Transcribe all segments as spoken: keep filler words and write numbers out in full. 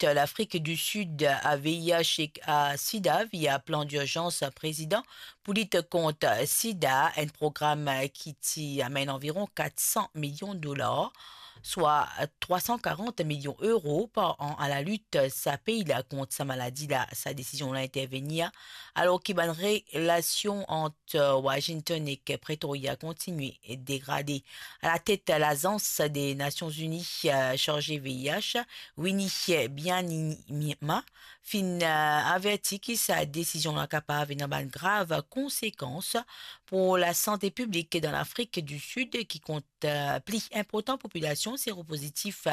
lit Lafrik di Sid a V I H ek a sida via plan dirzans prezidan pou lit kont sida, enn program ki ti amenn anviron kat san milion dolar, swa trwa san karant milion euro par an, a lalit sa pei la kont sa maladi la. Sa desizion la intervenir alor ki bann relasion ant Washington ek Pretoria kontinie degrade. Alatet Lazans de Nasion Zini, eh, sarze V I H, Winnie Byanyima, finn, eh, averti ki sa desizion la kapav ena bann grav konsekans pou lasante piblik dan Lafrik di Sid, ki kont, eh, pli inportan popilasion seropozitif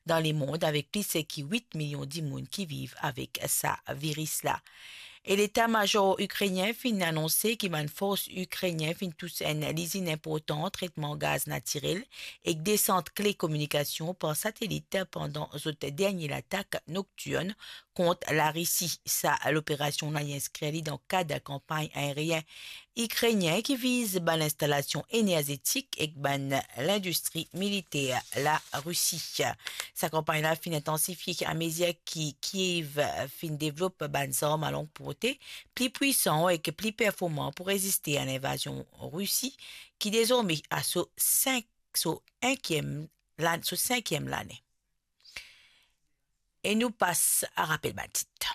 dan lemond, avek plis ki wit milion dimoun ki viv avek sa viris la. E leta mazor ikrenien finn anonse ki bann fors ikrenien finn tous enn lizinn inportan tretman gaz natirel ek de sant kle kominikasion par satelit pandan zot dernie latak noktirn kont Larisi. Sa loperasion la, li inskrir li dan kad kanpagn aerien ikrenien ki viz bann instalasion enerzetik ek bann lindistri militer Larisi. Sa kanpagn la finn intansifie amezir ki Kiev finn devlop bann zarm a long porte pli pwisan ek pli performan pou reziste a linvazion Risi, ki dezorme a so sink, so enkiem lan-, so sinkiem lane. E nou pas a rapel bann tit.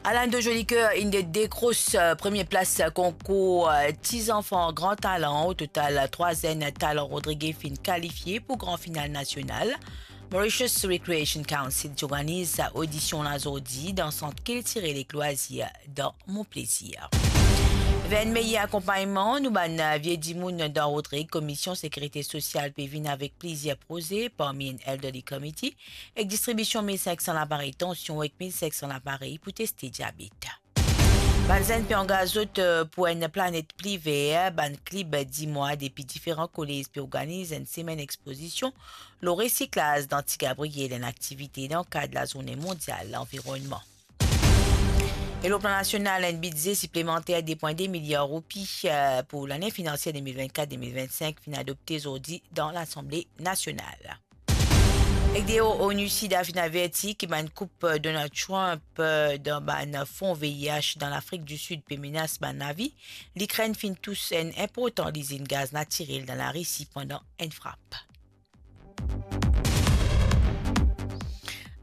Alan de Jolicoeur inn dekros, eh, premie plas, eh, konkour, eh, Ti Zanfan Gran Talan. O total, eh, trwa zenn talan Rodrige finn kalifie pou gran final nasional. Mauritius Recreation Council ti organiz sa odision la zordi dan Sant Kiltirel ek Lwazir dan Mon Plaisir. Vinn meyer akonpagnman nou bann, eh, vie dimoun dan Rodrig, Komisyon Sekirite Sosyal pe vinn avek plizier proze, parmi enn elderly committee, ek distribision mil sink san laparey tansion ek mil sink san laparey pou teste diabet. Bann zenn pe angaz zot, eh, pou enn planet pli ver. Bann klib dimwa depi diferan kolez pe organiz enn semenn expozision lor resiklaz dan Ti Gabriel, enn aktivite dan kad Lazourne Mondial Lanvironnman. E lor plan nasional, enn bidze siplemanter de pwin de miliar roupi, eh, pou lane finansier de mil vennkat de mil vennsink finn adopte zordi dan Lasanble Nasional. Ek deor, ONUCID finn averti ki bann koup Donald Trump, eh, dan bann fon V I H dan Lafrik di Sid pe menas bann lavi. Likrenn finn tous enn inportan lizinn gaz natirel dan Larisi pandan enn frap.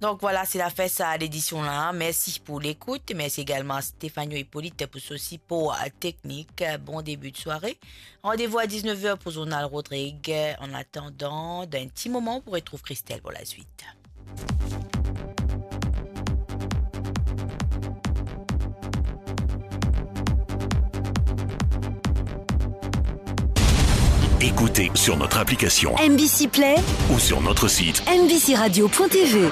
Donk vwala, se lafen sa ledision la. Mersi pou lekout. Mersi egalman a Stefano Hippolyte pou so sipor, eh, teknik. Bon debi de sware. Randevou a diznef er pou zournal Rodrig. An atandan, dan enn ti moman, pou retrouv Christelle pou laswit. Écoutez sur notre application M B C Play ou sur notre site M B C radio point T V.